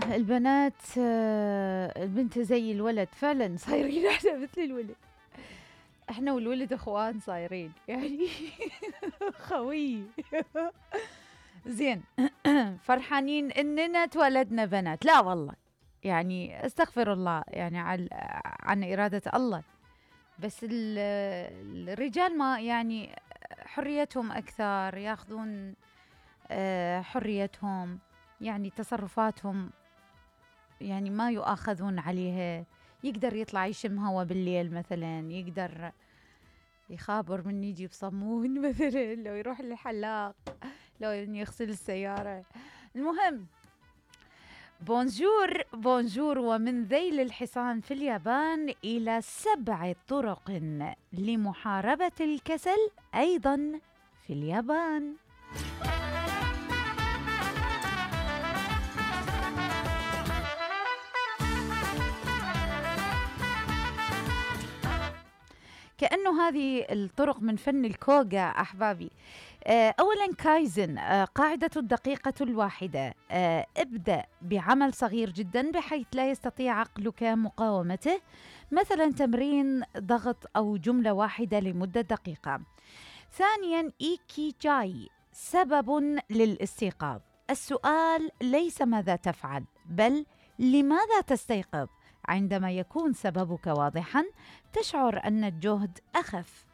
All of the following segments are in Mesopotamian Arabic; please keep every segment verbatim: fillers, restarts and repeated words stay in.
البنات آه، البنت زي الولد فعلا صايرين احنا مثل الولد. احنا والولد اخوان صايرين يعني خوي زين. فرحانين اننا تولدنا بنات؟ لا والله، يعني استغفر الله يعني عن عن إرادة الله. بس الرجال ما يعني حريتهم أكثر، ياخذون حريتهم، يعني تصرفاتهم يعني ما يؤاخذون عليها. يقدر يطلع يشم هوا بالليل مثلا، يقدر يخابر من يجي بصمون مثلا، لو يروح للحلاق، لو يغسل السيارة. المهم، بونجور بونجور. ومن ذيل الحصان في اليابان إلى سبع طرق لمحاربة الكسل أيضا في اليابان. كأنه هذه الطرق من فن الكوغا أحبابي. أولا كايزن، قاعدة الدقيقة الواحدة. ابدأ بعمل صغير جدا بحيث لا يستطيع عقلك مقاومته، مثلا تمرين ضغط أو جملة واحدة لمدة دقيقة. ثانيا إيكيجاي، سبب للاستيقاظ. السؤال ليس ماذا تفعل، بل لماذا تستيقظ. عندما يكون سببك واضحا تشعر أن الجهد أخف.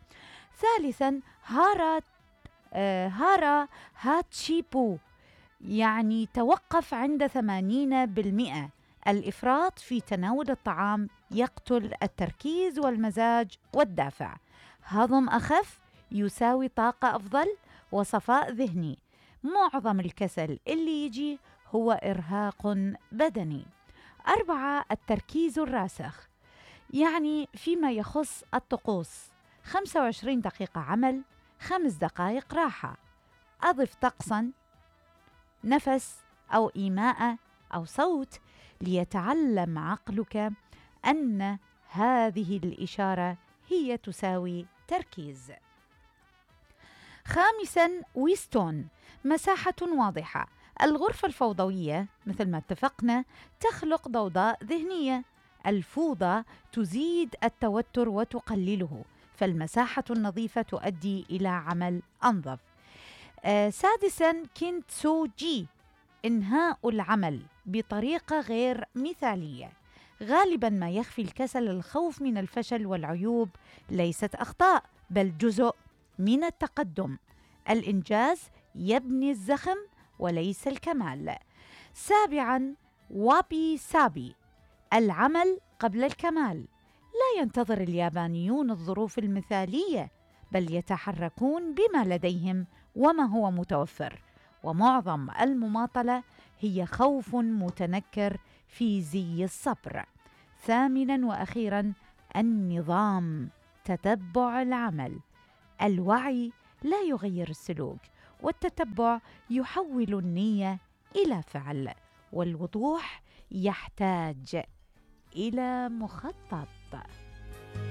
ثالثا هارا آه هارا هاتشيبو، يعني توقف عند ثمانين بالمئة. الإفراط في تناول الطعام يقتل التركيز والمزاج والدافع. هضم أخف يساوي طاقة أفضل وصفاء ذهني. معظم الكسل اللي يجي هو إرهاق بدني. أربعة التركيز الراسخ، يعني فيما يخص الطقوس: خمسة وعشرين دقيقة عمل، خمس دقائق راحة. أضف طقساً، نفس أو إيماء أو صوت ليتعلم عقلك أن هذه الإشارة هي تساوي تركيز. خامساً ويستون، مساحة واضحة. الغرفة الفوضوية مثل ما اتفقنا تخلق ضوضاء ذهنية. الفوضى تزيد التوتر وتقلله، فالمساحة النظيفة تؤدي إلى عمل أنظف. آه سادساً كينتسوجي، إنهاء العمل بطريقة غير مثالية. غالباً ما يخفي الكسل الخوف من الفشل والعيوب، ليست أخطاء بل جزء من التقدم. الإنجاز يبني الزخم وليس الكمال. سابعاً وابي سابي، العمل قبل الكمال. لا ينتظر اليابانيون الظروف المثالية، بل يتحركون بما لديهم وما هو متوفر. ومعظم المماطلة هي خوف متنكر في زي الصبر. ثامناً وأخيراً النظام، تتبع العمل. الوعي لا يغير السلوك، والتتبع يحول النية إلى فعل، والوضوح يحتاج إلى مخطط.